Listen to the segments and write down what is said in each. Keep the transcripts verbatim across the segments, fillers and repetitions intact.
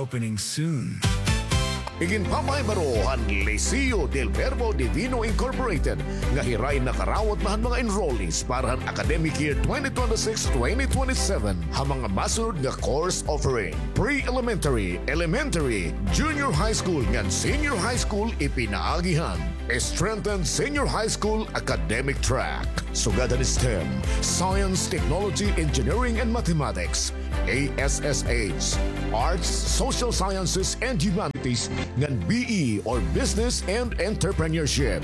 Opening soon. Iginpapahibaro han Liceo del Verbo Divino Incorporated nga hira in nakarawat na han mga enrollees para han academic year twenty twenty-six twenty twenty-seven ha mga masunod nga course offering: pre-elementary, elementary, junior high school ngan senior high school ipinaagi han strengthened senior high school academic track, sugad han STEM, Science, Technology, Engineering, and Mathematics, A S S H, Arts, Social Sciences, and Humanities, ngan B E or Business and Entrepreneurship.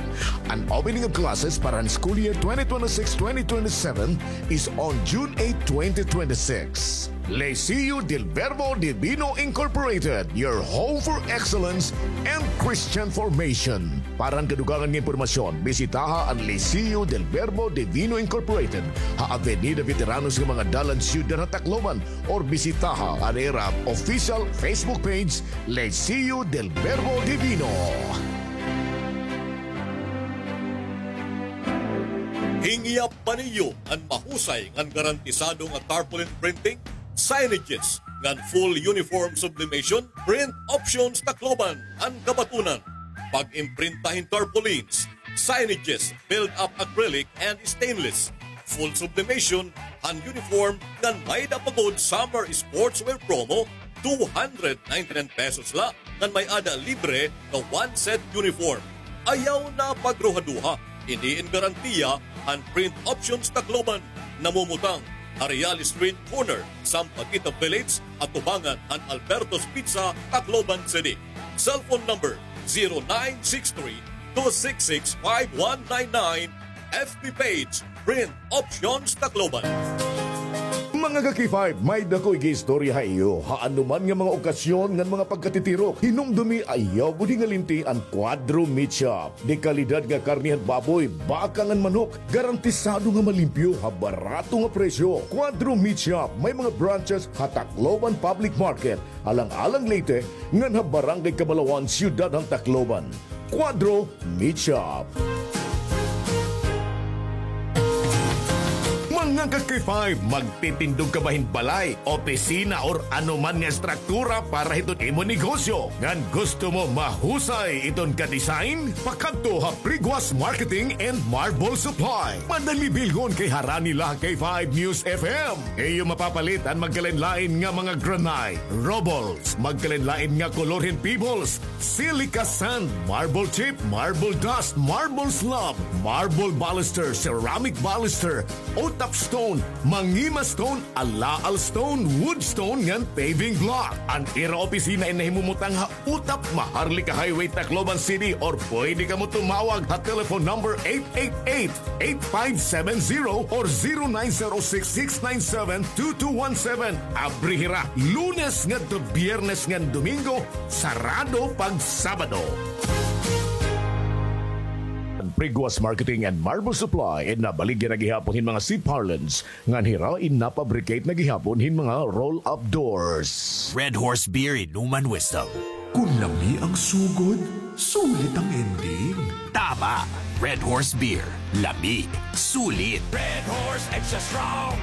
An opening of classes para han school year twenty twenty-six twenty twenty-seven is on June eight, twenty twenty-six. Liceo del Verbo Divino Incorporated, your home for excellence and Christian formation. Para han kadugangan nga impormasyon, bisitaha an Liceo del Verbo Divino Incorporated ha Avenida Veteranos nga mga dalan, Siyudad han Tacloban, or bisitaha an ira official Facebook page, Liceo del Verbo Divino. Hingyap pa niyo an mahusay ngan garantisado nga tarpaulin printing, signages, ngan full uniform sublimation? Print Options Tacloban an kabatunan. Pag-imprinta hin tarpaulins, signages, build-up acrylic and stainless, full sublimation han uniform, ngan may-ada pa gud summer sportswear promo, two hundred ninety-nine pesos la, ngan may-ada libre nga one set uniform. Ayaw na pagruhaduha, ini in garantiya han Print Options Tacloban. Namumutang ha Real Street corner, Sampaguita Village, atubangan han Alberto's Pizza, Tacloban City. Cellphone number, zero nine six three, two six six, five one nine nine. F B page, Print Options Tacloban. Mga ka-K five, may-ada ko igiistorya ha iyo. Ha anoman nga mga okasyon ngan mga pagkatitirok, hinumdumi, ayaw gud hingalinti an Cuadro Meat Shop. De kalidad nga karne han baboy, baka ngan manok, garantisado nga malimpyo ha barato nga presyo. Cuadro Meat Shop, may mga branches ha Tacloban Public Market, Alang-alang Leyte, ngan ha Barangay Cabalawan, Siyudad han Tacloban. Cuadro Meat Shop. Mga ka-K five, magtitindog ka ba hin balay, opisina, or anoman nga estruktura para hiton imo negosyo? Ngan gusto mo mahusay iton ka-design? Pakadto ha Priguas Marketing and Marble Supply. Madali bilhon kay harani la ha K five News F M. Iyo mapapalit an magkalain-lain nga mga granite, rubbles, magkalain-lain nga kolor hin pebbles, silica sand, marble chip, marble dust, marble slab, marble baluster, ceramic baluster, utap stone, mangima stone, alaal stone, wood stone, ngan paving block. An ira opisina in nahimumutang ha Utap, Maharlika Highway, Tacloban City, or pwede kamo tumawag ha telephone number eight eight eight, eight five seven zero or zero nine zero six, six nine seven, two two one seven. Abri hira Lunes ngadto Biyernes ngan Domingo, sarado pag Sabado. Priguas Marketing and Marble Supply, in nabaligya na gihapon hin mga C-parlance, ngan hira in napabricate na gihapon hin mga roll-up doors. Red Horse Beer, inuman wisdom. Kun lami ang sugod, sulit ang ending. Tama! Red Horse Beer. Lami. Sulit. Red Horse Extra Strong,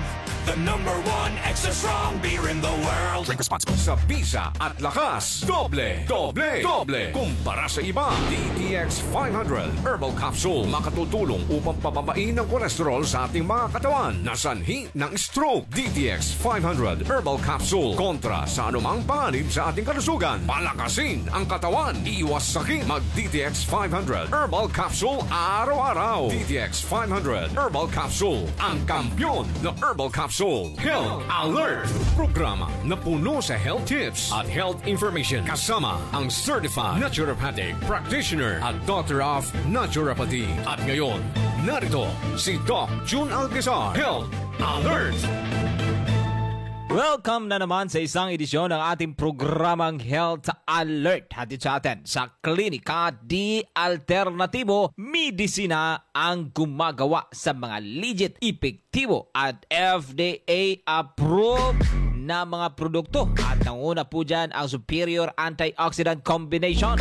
the number one extra strong beer in the world. Drink responsibly. Sa bisa at lakas, doble, doble, doble kumpara sa iba. D T X five hundred Herbal Capsule makatutulong upang pababain ang kolesterol sa ating mga katawan na sanhi ng stroke. D T X five hundred Herbal Capsule kontra sa anumang panganib sa ating kalusugan. Palakasin ang katawan, iwas sakit. Mag D T X five hundred Herbal Capsule araw-araw. D T X five hundred Herbal Capsule, ang kampiyon na herbal capsule. Health Alert, programa na puno sa health tips at health information, kasama ang certified naturopathic practitioner at Doctor of Naturopathy. At ngayon, narito si Doc Jun Alcazar. Health Alert! Welcome na naman sa isang edisyon ng ating programang Health Alert. Hatid sa atin sa Klinika Di Alternatibo Medisina, ang gumagawa sa mga legit, epektibo at F D A approved na mga produkto. At nanguna po dyan ang Superior Antioxidant Combination,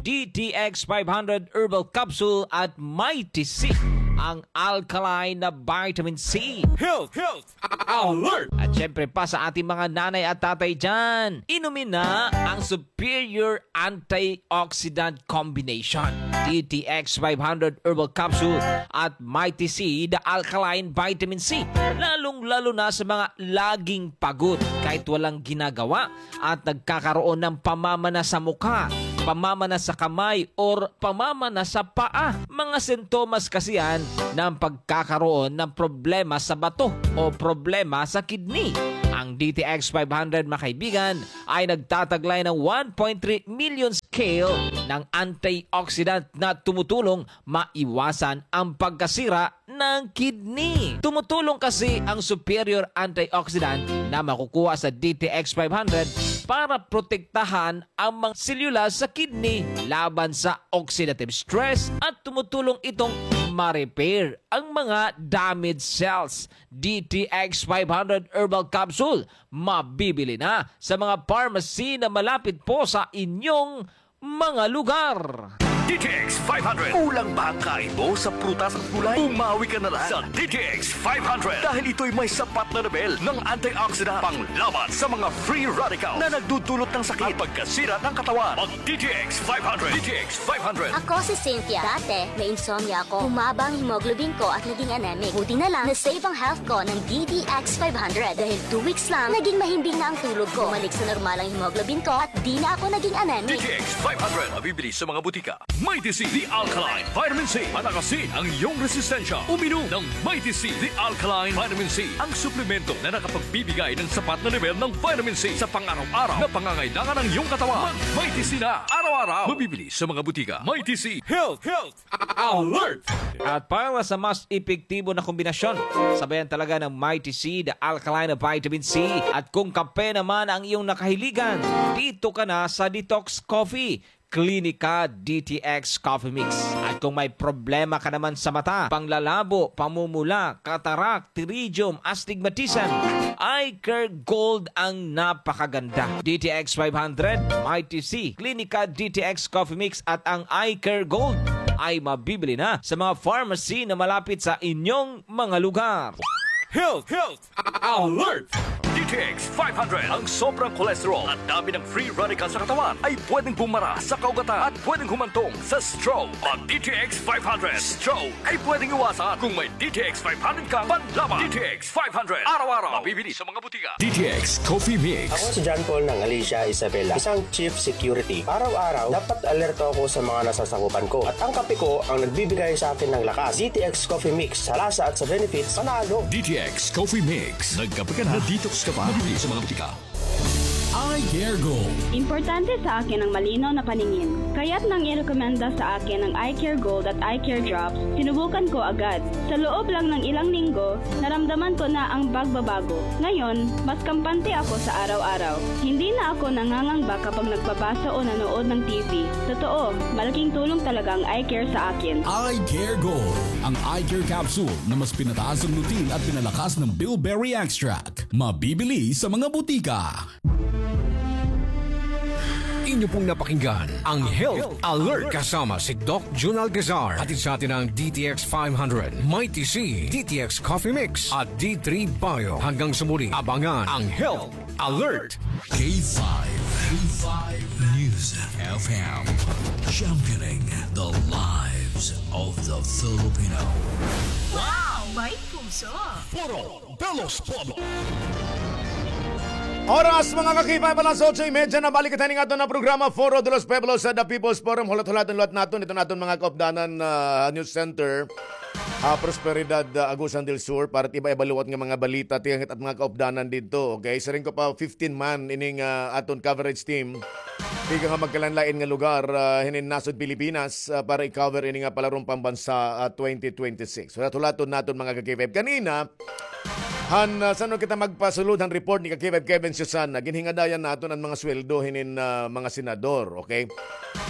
D T X five hundred Herbal Capsule at Mighty C. ang alkaline na vitamin C. Health, health, alert! At syempre pa sa ating mga nanay at tatay dyan, inumin na ang Superior Antioxidant Combination. D T X five hundred Herbal Capsule at Mighty C, the alkaline vitamin C. Lalong-lalo na sa mga laging pagod kahit walang ginagawa at nagkakaroon ng pamamana sa mukha, pamamana sa kamay, or pamamana sa paa. Mga sintomas kasi yan ng pagkakaroon ng problema sa bato o problema sa kidney. Ang D T X five hundred, mga kaibigan, ay nagtataglay ng one point three million scale ng antioxidant na tumutulong maiwasan ang pagkasira ng kidney. Tumutulong kasi ang superior antioxidant na makukuha sa D T X five hundred para protektahan ang mga selula sa kidney laban sa oxidative stress at tumutulong itong ma-repair ang mga damaged cells. D T X five hundred Herbal Capsule, mabibili na sa mga pharmacy na malapit po sa inyong mga lugar. D T X five hundred. Kulang ba ang kain mo sa prutas at gulay? Bumawi ka na lang sa D T X five hundred dahil ito'y may sapat na level ng antioxidant panglaban sa mga free radical na nagdudulot ng sakit at pagkasira ng katawan. Mag D T X five hundred. D T X five hundred. Ako si Cynthia. Dati, may insomnia ako. Bumaba ang hemoglobin ko at naging anemic. Buti na lang, na-save ang health ko ng D T X five hundred. Dahil two weeks lang, naging mahimbing na ang tulog ko. Bumalik sa normal ang hemoglobin ko at di na ako naging anemic. D T X five hundred. Mabibili sa mga butika. Mighty C, the alkaline vitamin C. Palakasin ang iyong resistensya. Uminom ng Mighty C, the alkaline vitamin C. Ang suplemento na nakapagbibigay ng sapat na level ng vitamin C sa pang-araw-araw na pangangailangan ng iyong katawan. Mag Mighty C na araw-araw. Mabibili sa mga butika. Mighty C. Health, health, alert! At para sa mas epektibo na kombinasyon, sabayan talaga ng Mighty C, the alkaline vitamin C. At kung kape naman ang iyong nakahiligan, dito ka na sa Detox Coffee. Clinica D T X Coffee Mix. At kung may problema ka naman sa mata, panglalabo, pamumula, katarak, pterygium, astigmatism, Eye Care Gold ang napakaganda. D T X five hundred, Mighty C, Clinica D T X Coffee Mix at ang Eye Care Gold ay mabibili na sa mga pharmacy na malapit sa inyong mga lugar. Health, health, alert! D T X five hundred. Ang sobrang cholesterol at dami ng free radical sa katawan ay pwedeng bumara sa kaugatan at pwedeng humantong sa stroke. Ang D T X five hundred, stroke ay pwedeng iwasan kung may D T X five hundred kang panlaban. D T X five hundred, araw-araw. Mabibili sa mga butika. D T X Coffee Mix. Ako si John Paul ng Alicia Isabela, isang chief security. Araw-araw, dapat alerto ako sa mga nasasakupan ko. At ang kape ko ang nagbibigay sa akin ng lakas. D T X Coffee Mix, sa lasa at sa benefits, panalo. D T X Coffee Mix. Nagkape ka na, na-detox ka pa. Mabibili sa mga butika. Eye Care Gold. Importante sa akin ang malinaw na paningin. Kaya't nang irekomenda sa akin ang Eye Care Gold at Eye Care Drops, sinubukan ko agad. Sa loob lang ng ilang linggo, naramdaman ko na ang pagbabago. Ngayon, mas kampante ako sa araw-araw. Hindi na ako nangangamba kapag nagbabasa o nanood ng T V. Totoo, malaking tulong talaga ang eye care sa akin. Eye Care Gold. Ang eye care capsule na mas pinataas ang lutein at pinalakas ng bilberry extract. Mabibili sa mga butika. Inyo pong napakinggan ang Health Alert kasama si Doc Jun Alcazar. Hatid sa atin ng D T X five hundred, Mighty C, D T X Coffee Mix at D three Bio. Hanggang sa muli, abangan ang Health Alert. K five, K five News F M, championing the lives of the Filipino. Wow! May puso! Foro de los Pueblos. Oras, mga ka-K five, alas otso y media na. Balik kita ning aton na programa, Foro de los Pueblos, sa The People's Forum. Hulat-hulaton liwat naton iton aton mga kaupdanan, ah, news center, ah, Prosperidad, ah, Agusan del Sur, para it iba-iba liwat nga mga balita, tiyanghit at mga kaupdanan didto. Okay, siring ko pa, fifteen man ining, ah, aton coverage team. Tikang ha magkalain-lain nga lugar, ah, hinin nasod Pilipinas, ah, para i-cover ini nga Palarong Pambansa, ah, twenty twenty-six. Hulat-hulaton naton, mga ka-K five. Kanina, han, ah, san-o kita magpasulod han report ni ka-K five Kevin Susana, ginhingadayan naton an mga sweldo hinin, ah, mga senador, okay?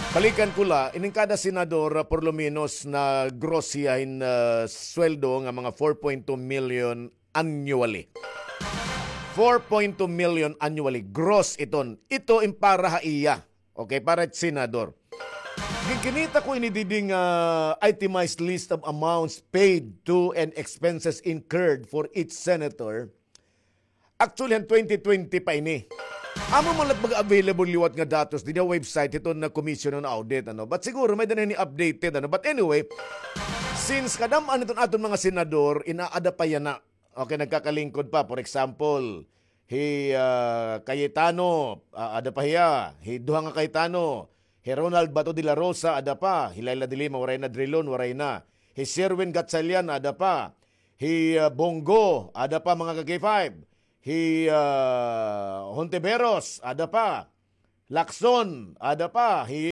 Balikan ko la, ining kada senador, ah, por lo menos na gross hiya hin, ah, sweldo nga mga four point two million annually. Four point two million annually, gross iton. Ito in para ha iya. Okay, para senador. Kinita ko ini didi nga itemized list of amounts paid to and expenses incurred for each senator. Actually, han twenty twenty pa ini. Amo man la it mga available liwat nga datos didi ha website hiton nga Commission on Audit, ano. But siguro may-ada na ini updated, ano. But anyway, since kadam-an hiton aton mga senador, inaada pa yana. Okay, nagkakalingkod pa. For example, hi, ah, Cayetano, ah, ada pa hiya. Hi duha nga Cayetano, hi Ronald Bato de la Rosa, ada pa. Hi Leila de Lima, waray na. Drilon, waray na. Hi Sherwin Gatchalian, ada pa. Hi, ah, Bong Go, ada pa, mga ka-K five. Hi, ah, Hontiveros, ada pa. Lacson, ada pa. Hi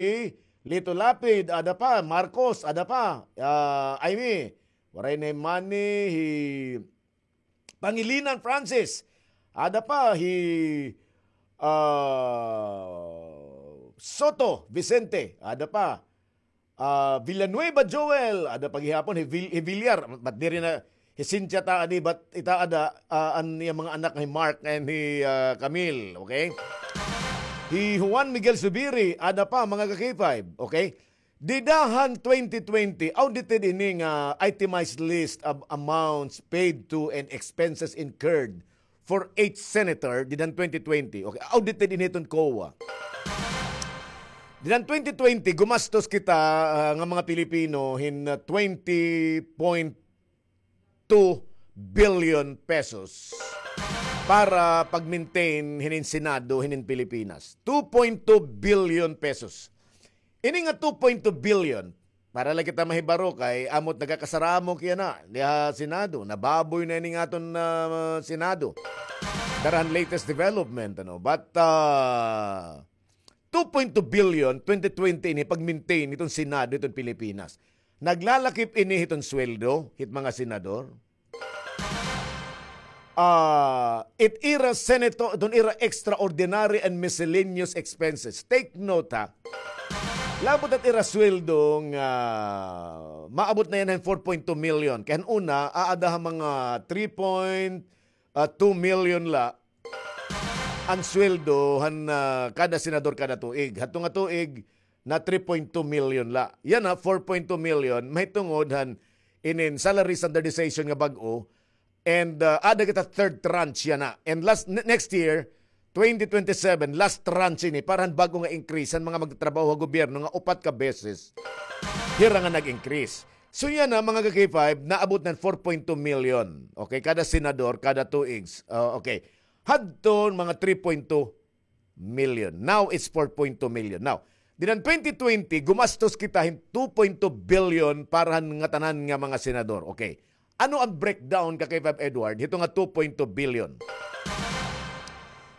Lito Lapid, ada pa. Marcos, ada pa. Ah, Imee, waray na. Hi Manny, hi Pangilinan Francis, ada pa. Hi, ah, Soto Vicente, ada pa. Ah, Villanueva Joel, ada pa gihapon. Hi Vil-, hi Villar, but diri na. Hi Cynthia ta adi, but ita ada, ah, an iya mga anak nga hi Mark and hi, ah, Camille, okay? Hi Juan Miguel Zubiri, ada pa, mga ka-K five, okay? Dida han twenty twenty, audited ini nga itemized list of amounts paid to and expenses incurred for each senator, dida han twenty twenty. Okay, audited ini hiton COA. Dida han twenty twenty, gumastos kita, ah, nga mga Pilipino hin, ah, twenty point two billion pesos para pag-maintain hinin Senado hinin Pilipinas. Two point two billion pesos. Ini nga two point two billion, para la kita mahibaro kay amo it nagakasaramo kay yana diha Senado. Nababoy na ini nga aton, ah, Senado. Dara han latest development, ano. But, ah, two point two billion, twenty twenty ini pag-maintain hiton Senado hiton Pilipinas. Naglalakip ini hiton sweldo hit mga senador. Ah, it ira senator, iton ira extraordinary and miscellaneous expenses. Take note, ha. Labot it ira sweldo nga maabot na yana hin four point two million. Kay han una, aada ha mga three point two million la an sweldo han, ah, kada senador kada tuig. Hadto nga tuig, na three point two million la. Yana, four point two million, mahitungod han inin salary standardization nga bag-o. And, ah, aada kita third tranche yana. And last, ne-, next year, twenty twenty-seven, last tranche ini para han bag-o nga increase han mga magtatrabaho ha gobyerno nga upat ka beses hira nga nag-increase. So yana, mga ka-K five, naabot na hin four point two million. Okay, kada senador, kada tuig. Ah, okay. Hadton mga three point two million. Now, it's four point two million. Now, dida han twenty twenty, gumastos kita hin two point two billion para han ngatanan nga mga senador. Okay. Ano an breakdown, ka-K five Edward, hito nga two point two billion?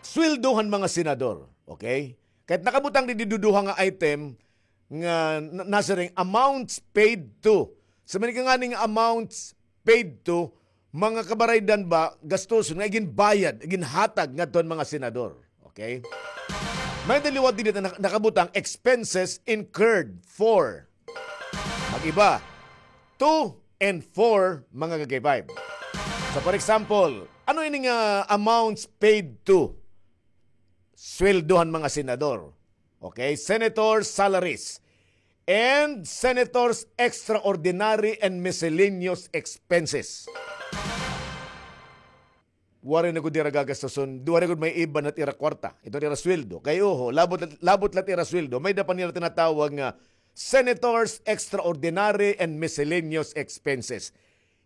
Sweldo han mga senador. Okay? Kay it nakabutang didi duduha nga item nga na-, nasiring amounts paid to. Sa manika ngani nga amounts paid to, mga kabaraydan ba, gastuson nga iginbayad, iginhatag ngadto han mga senador. Okay? May-ada liwat didi nga nak-, nakabutang expenses incurred for. Mag-iba. Two and four, mga ka-K five. So, for example, ano ini nga amounts paid to? Sweldo han mga senador. Okay? Senators' salaries. And senators' extraordinary and miscellaneous expenses. Waray na gud ira gagastuson, waray gud maiiba na it ira kwarta, iton ira sweldo. Kay oho, labot, labot la it ira sweldo, may-ada pa nira tinatawag nga senators' extraordinary and miscellaneous expenses.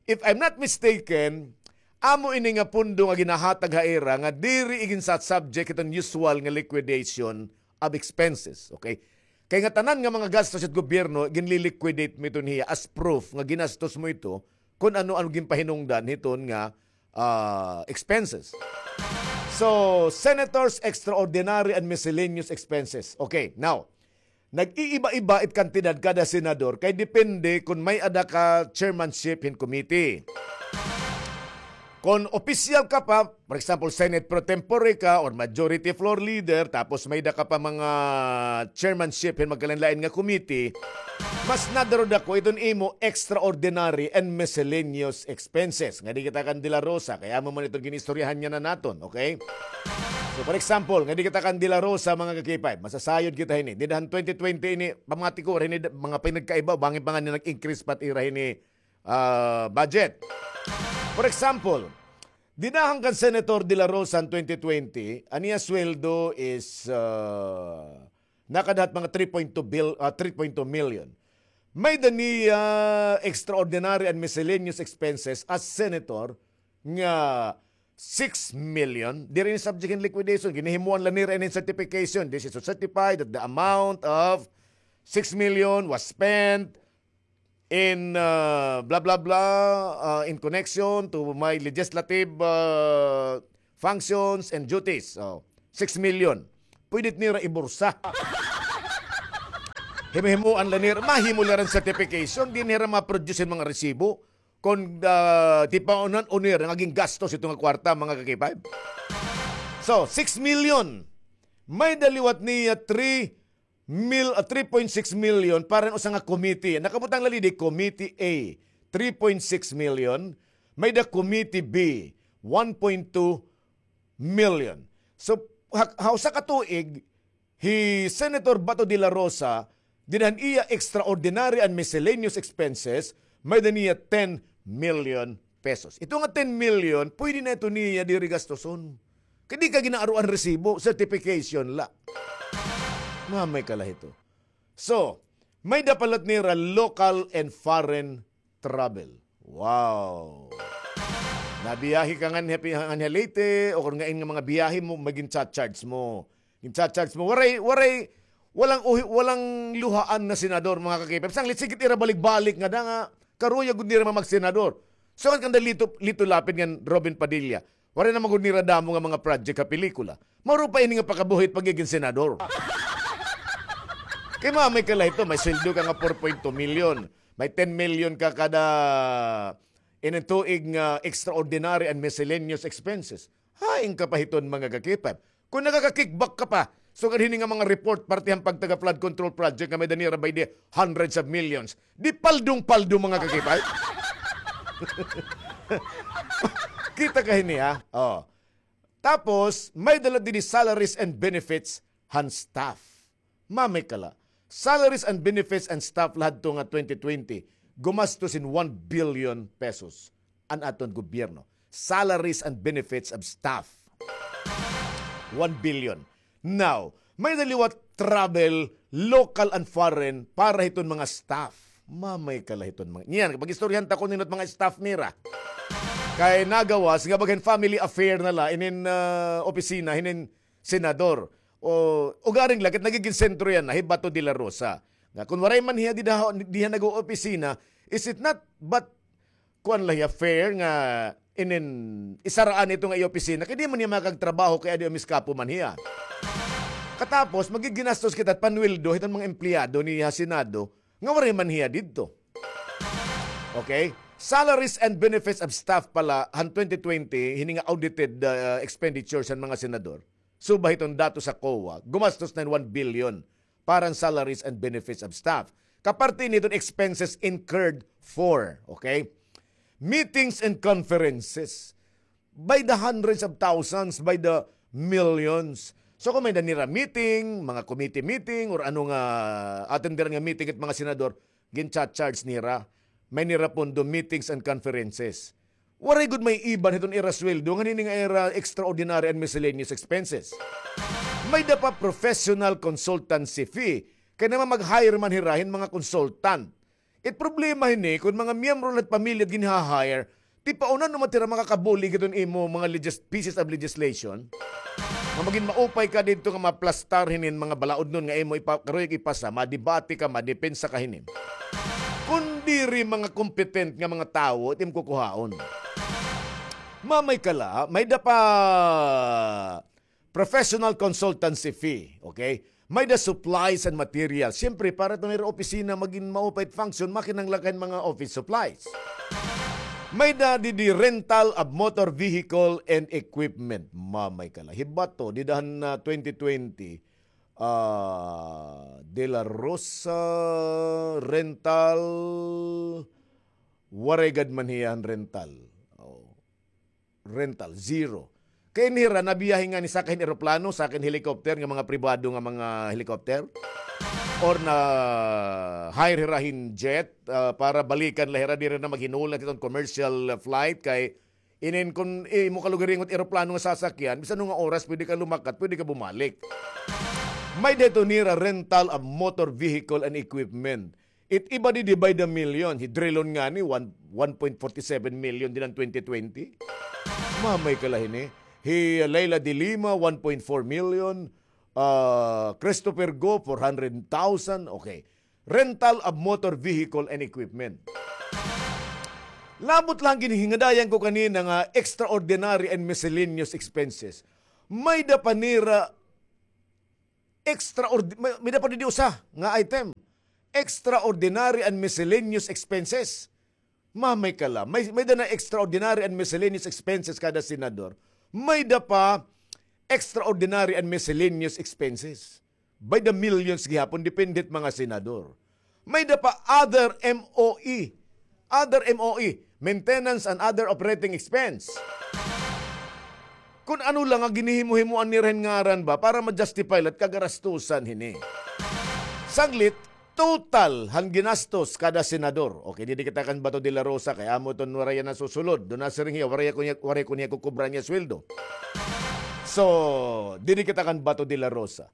If I'm not mistaken, amo ini nga pondo nga ginahatag ha ira nga diri iginsa-subject hiton usual nga liquidation of expenses, okay? Kay ngatanan nga mga gastos hit gobyerno, ginli-liquidate mo iton hiya as proof nga ginastos mo ito kon ano an ginpahinungdan hiton nga, ah, expenses. So, senators' extraordinary and miscellaneous expenses. Okay, now, nag-iiba-iba it kantidad kada senador kay depende kon may-ada ka chairmanship hin committee. Kon opisyal ka pa, for example, Senate pro tempore ka or majority floor leader, tapos may-ada ka pa mga chairmanship hin magkalain-lain nga committee, mas nadaro dako iton imo extraordinary and miscellaneous expenses. Ngadi kita kan De La Rosa, kay amo man iton ginistoryahan niya na naton, okay? So, for example, nga di kita kan De La Rosa, mga ka-K five, masasayod kita hini. Dida han twenty twenty ini, pamati ko, hini, mga pinagkaiba, bangin pa nga ni nag-increase pa it ira hini, ah, budget. For example, dida han kan Senator De La Rosa han twenty twenty, an iya sweldo is, ah, nakada ha mga three point two bil-, ah, three point two million. May-ada niya extraordinary and miscellaneous expenses as senator nga six million. Diri ini subject hin liquidation. Ginhihimuan la nira ini hin certification. This is to certify that the amount of six million was spent in, uh, blah, blah, blah, uh, in connection to my legislative, uh, functions and duties. Oh, six million. Pwede nira ibursa. Himuhimuan la nira, mahimo la hin certification, di nira ma-produce hin mga resibo. Kon, ah, tipaunan o nira nga gingastos ito nga kwarta, mga ka-K five. So, six million. May-ada liwat niya three mil-, ah, three point six million para usa nga committee. Nakabutang la didi, Committee A, three point six million. May-ada Committee B, one point two million. So, ha, ha usa ka tuig, hi Senator Bato de la Rosa, dida han iya extraordinary and miscellaneous expenses, may-ada niya ten million pesos. Ito nga ten million, pwede na ito niya diri gastuson. Kay di ka ginaaroan resibo, certification la. Mamay ka la hito. So, may-ada pa la nira local and foreign travel. Wow. Nabiyahe ka nganhi, nganhi ha Leyte, o kon ngain nga mga biyahe mo, may gin-charge mo. Gin-charge mo. Waray, waray, walang uhi-, walang luhaan na senador, mga ka-K five. Sanglit, sige it ira balik-balik ngada nga, karuyag gud nira magsenador. So, kan kanda Lito, Lito Lapid ngan Robin Padilla. Waray na man gud nira damo nga mga project ha pelikula. Mauro pa ini nga pakabuhi it pagigin senador. Kay mamay ka la hito, may sweldo ka nga four point two million. May ten million ka kada inin tuig nga extraordinary and miscellaneous expenses. Hain ka pa hiton, mga ka-K five. Kon nakaka-kickback ka pa, sugad hini nga mga report, parte han pagtaga flood control project nga may-ada nira by the hundreds of millions. Di paldong-paldo, mga ka-K five. Kita ka hini, ha? Oh. Tapos, may-ada la didi salaries and benefits han staff. Mamay ka la. Salaries and benefits and staff la hadto nga twenty twenty, gumastos hin one billion pesos an aton gobyerno. Salaries and benefits of staff. One billion. Now, may-ada liwat travel, local and foreign, para hiton mga staff. Mamay ka la hiton mga. Niyan, pag-istoryahan ta ko nindot mga staff nira. Kay nagawas, nga baga hin family affair na la, inin, ah, opisina, hinin senador. O, ugaring la, kit nagigin sentro yana, hi Bato de la Rosa. Nga, kon waray man hiya dida, diha nag-oopisina, is it not, but kuan la hiya fair nga inin isaraan ito nga iya opisina, kay di man hiya makagtrabaho kay adi umiskapo man hiya. Katapos, magiginastos kita panweldo hiton mga empleyado niya ha Senado nga waray man hiya didto. Okay? Salaries and benefits of staff pala han twenty twenty, hini nga audited, uh, expenditures han mga senador. Suba hiton datos sa COA, gumastos na hin one billion para han salaries and benefits of staff. Kaparte ini hiton expenses incurred for, okay? Meetings and conferences. By the hundreds of thousands, by the millions. So, kon may-ada nira meeting, mga committee meeting, or ano nga atenderan nga meeting it mga senador, gin-charge nira. May nira pondo, meetings and conferences. Waray gud maiiban hiton ira sweldo ngan hini nga ira extraordinary and miscellaneous expenses. May-ada pa professional consultancy fee. Kay naman mag-hire man hira hin mga consultant. It problema hini, kon mga miyembro la hit pamilya it ginha-hire, tipaunan no man it ira makakabulig hiton imo mga legis-, pieces of legislation. Nga magin maupay ka didto nga maplastar hinin mga balaudnon nga imo ipa-, karuyag ipasa, madebate ka, madepensa ka hinin. Kon diri mga competent nga mga tawo it imo kukuhaon. Mamay ka la, may-ada pa professional consultancy fee, okay? May-ada supplies and materials. Siyempre, para iton ira opisina magin maupay it function, makinahanglan ka hin mga office supplies. May-ada didi rental of motor vehicle and equipment. Mamay ka la. Hi Bato, dida han, ah, twenty twenty, ah, De La Rosa, rental, waray gad man hiya han rental. Oh. Rental, zero. Kay ini hira, nabiyahe ngani saka hin eroplano, saka hin helicopter, nga mga pribado nga mga helicopter. Or na-hire hira hin jet, ah, para balikan la hira, diri na maghinula iton commercial flight, kay inin kon imo kalugaringon it eroplano nga sasakyan, bisan ano nga oras pwede ka lumakat, pwede ka bumalik. May-ada ito nira rental of motor vehicle and equipment. It iba didi by the million. Hi Drilon ngani, one, one point forty seven million dida han twenty twenty. Mamay ka la hini. Hi Leila de Lima, one point four million. Ah, Christopher Go, four hundred thousand. Okay. Rental of motor vehicle and equipment. Labot la han ginhingadayan ko kanina nga extraordinary and miscellaneous expenses. May-ada pa nira extraordi-, may, may-ada pa didi usa nga item. Extraordinary and miscellaneous expenses. Mamay ka la. May, may-ada na extraordinary and miscellaneous expenses kada senador. May-ada pa extraordinary and miscellaneous expenses. By the millions gihapon, depende hit mga senador. May-ada pa other M O E. Other M O E, maintenance and other operating expense. Kun ano la nga ginhihimo-himoan nira hin ngaran ba para ma-justify la it kagarastusan hini. Sanglit, total han ginastos kada senador. Okay, didi kita kan Bato de la Rosa, kay amo iton waray hiya nasusulod. Duna siring hiya, waray ko niya, waray ko niya kukubra niya sweldo. So, didi kita kan Bato de la Rosa.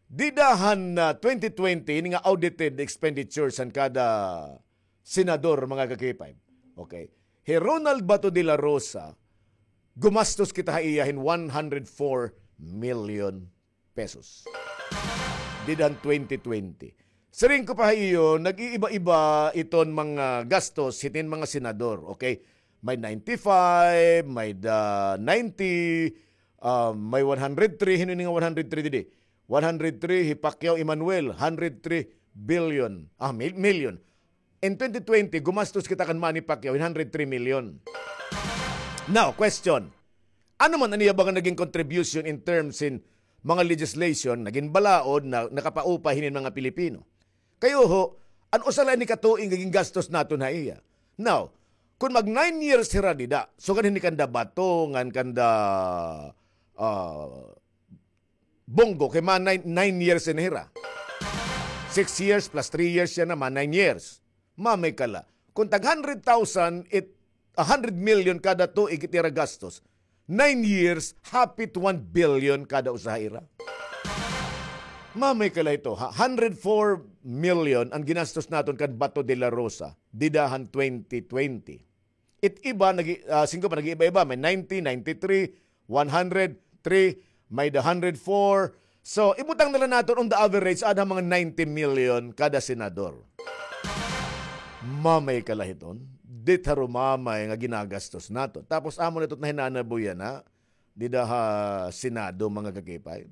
Dida han, ah, twenty twenty, ini nga audited expenditures han kada senador, mga ka-K five. Okay. Hi Ronald Bato de la Rosa, gumastos kita ha iya hin one hundred four million pesos. Dida han twenty twenty. Siring ko pa ha iyo, nag-iiba-iba iton mga gastos hiton mga senador, okay? May ninety-five, may-ada ninety, ah, may one hundred three, hin-o ini nga one hundred three didi? One hundred three, hi Pacquiao Emmanuel, hundred three billion, ah, mil-, million. In twenty twenty, gumastos kita kan Manny Pacquiao hin hundred three million. Now, question. Ano man an iya ba nga naging contribution in terms hin mga legislation, naging balaod na nakapaupay hinin mga Pilipino? Kay uho, an usa la ini ka tuig nga gingastos naton ha iya. Now, kun mag nine years hira dida, sugad hini kanda Bato, ngan kanda, ah, Bong Go, kay mga nine, nine years na hira. Six years plus three years yana, mga nine years. Mamay ka la. Kun tag hundred thousand, it, a hundred million kada tuig it ira gastos. Nine years, hapit one billion kada usa ha ira. Mamay ka la hito, ha? Hundred four million an ginastos naton kan Bato de la Rosa, dida han twenty twenty. It iba, nag-, ah, singko pa, nag-iiba-iba. May ninety, ninety-three, one hundred three, may the hundred four. So, ibutang na la naton on the average, ada mga ninety million kada senador. Mamay ka la hiton. Diri harumamay nga ginagastos naton. Tapos, amo na ito it nahinanabuyan na dida ha Senado, mga ka-K five.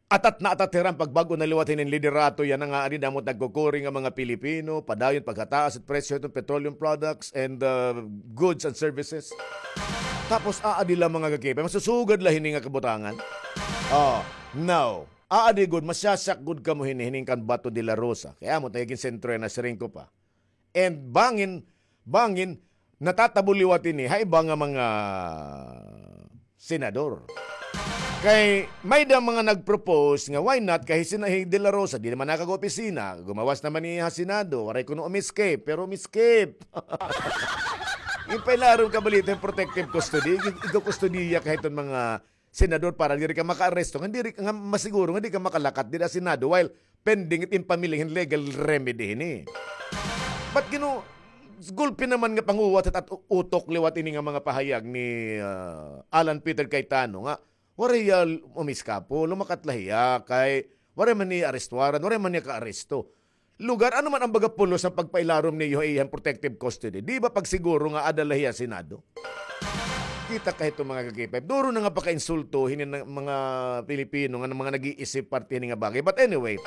Atat na atat hira an pagbag-o na liwat hinin liderato yana nga aadi damo it nagkukuri nga mga Pilipino, padayon paghataas it presyo hiton petroleum products and, uh, goods and services. Tapos aadi la mga ka-K five, masusugad la hini nga kabutangan. Oh, now, aadi gud, masyasak gud kamo hini, hinin kan Bato de la Rosa. Kay amo it nagigin sentro yana, siring ko pa. And bangin, bangin, natatabo liwat ini ha iba nga mga senador. Kay may-ada mga nag-propose nga why not kay hi Sena-, hi De La Rosa, di naman nakag-opisina, gumawas naman niya ha Senado, waray kuno umi-skip, pero umi-skip. Ipailarom ka balita hin protective custody, ig-, igkukustodiya ka hiton mga senador para diri ka makaaresto, nga diri ka, nga masiguro nga di ka makalakat dida ha Senado while pending it impamiling hin legal remedy hini. But, you know, gulpi naman nga panguwat it at-, utok liwat ini nga mga pahayag ni, ah, Alan Peter Cayetano nga waray hiya umiskapo, lumakat la hiya kay waray man niya arrest warrant, waray man niya kaaresto. Lugar, ano man an baga pulos han pagpailarom niyo ha iya hin protective custody? Di ba pagsiguro nga aada la hiya ha Senado? Kita ka hito, mga ka-K five. Duro na nga pakainsulto hini nga mga Pilipino nga mga nag-iisip parte hini nga bagay. But anyway,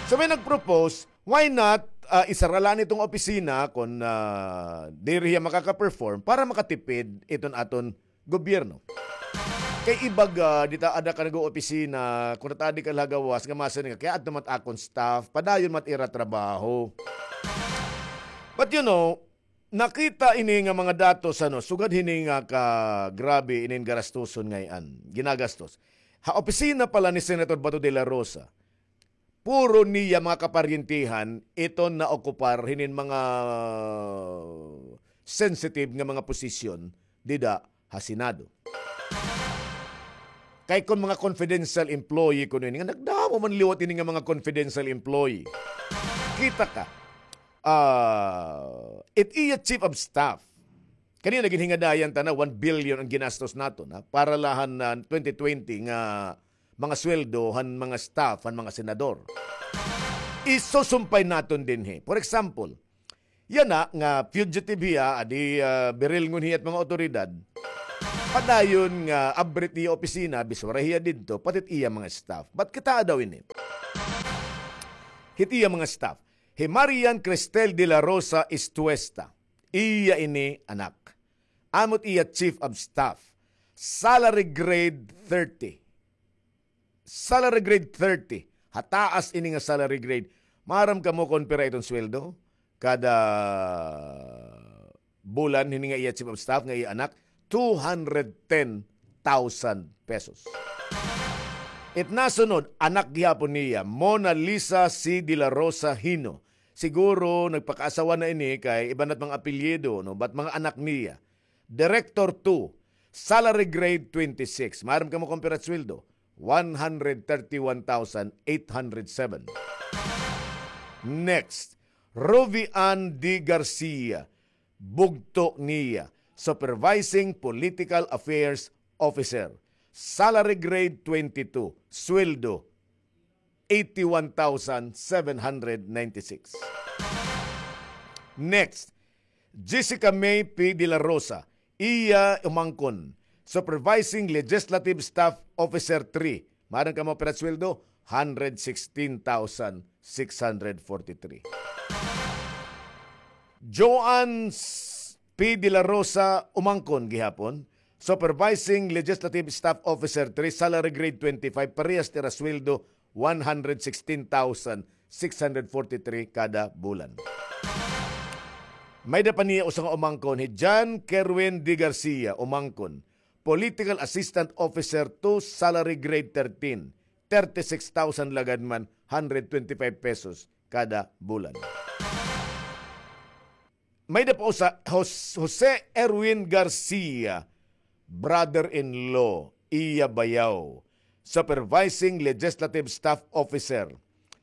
so may nag-propose, why not, ah, isara la iton opisina kon, ah, diri hiya makaka-perform para makatipid iton aton gobyerno. Kay iba gad, dida ada ka nag-oopisina, kon natadi ka la ha gawas, nga masiring ka, kay adto man it akon staff, padayon man it ira trabaho. But you know, Nakita ini nga mga datos, ano, sugad hini nga kagrabe inin garastuson ngay-an, ginagastos. Ha opisina pala ni Senator Bato de la Rosa, puro niya mga kaparyentihan iton naokupar hinin mga sensitive nga mga posisyon dida ha Senado. Kay kon mga confidential employee kuno ini, nga nagdamo man liwat ini nga mga confidential employee. Kita ka, ah, it iya chief of staff. Kanina ginhingadayan ta na one billion an ginastos naton, ha, para la han twenty twenty nga mga sweldo han mga staff, han mga senador. Isusumpay naton dinhi. For example, yana nga fugitive hiya, adi, ah, birilngon hiya it mga awtoridad. Padayon nga abri it iya opisina, biswara hiya didto, pati it iya mga staff. But kitaa daw ini. Hit iya mga staff. Hi Marian Cristel de la Rosa Estuesta. Iya ini anak. Amo it iya chief of staff. Salary grade thirty. Salary grade thirty. Ha taas ini nga salary grade. Maaram kamo kon pira iton sweldo kada bulan hini nga iya chief of staff nga iya anak? Two hundred ten thousand pesos. It nasunod, anak gihapon niya, Mona Lisa C. de la Rosa Hino. Siguro nagpakaasawa na ini kay iba na it mga apelyido, no? But mga anak niya. Director two, salary grade twenty-six. Maaram kamo kon pira it sweldo? One hundred thirty-one thousand eight hundred seven. Next, Ruby Ann D. Garcia, bugto niya, Supervising Political Affairs Officer. Salary grade twenty-two, sweldo eighty-one thousand seven hundred ninety-six. Next, Jessica May P. de la Rosa, iya umangkon, Supervising Legislative Staff Officer three. Maaram kamo pira it sweldo? Hundred sixteen thousand six hundred forty-three. Joanne S-, P. de la Rosa umangkon gihapon, Supervising Legislative Staff Officer three, salary grade twenty-five, parehas it ira sweldo, one hundred sixteen thousand six hundred forty-three kada bulan. May-ada pa niya usa nga umangkon, hi John Kerwin D. Garcia, umangkon, Political Assistant Officer two, salary grade thirteen, thirty-six thousand lagad man, hundred twenty-five pesos kada bulan. May-ada pa usa, Jos-, Jose Erwin Garcia, brother-in-law, iya bayaw, Supervising Legislative Staff Officer,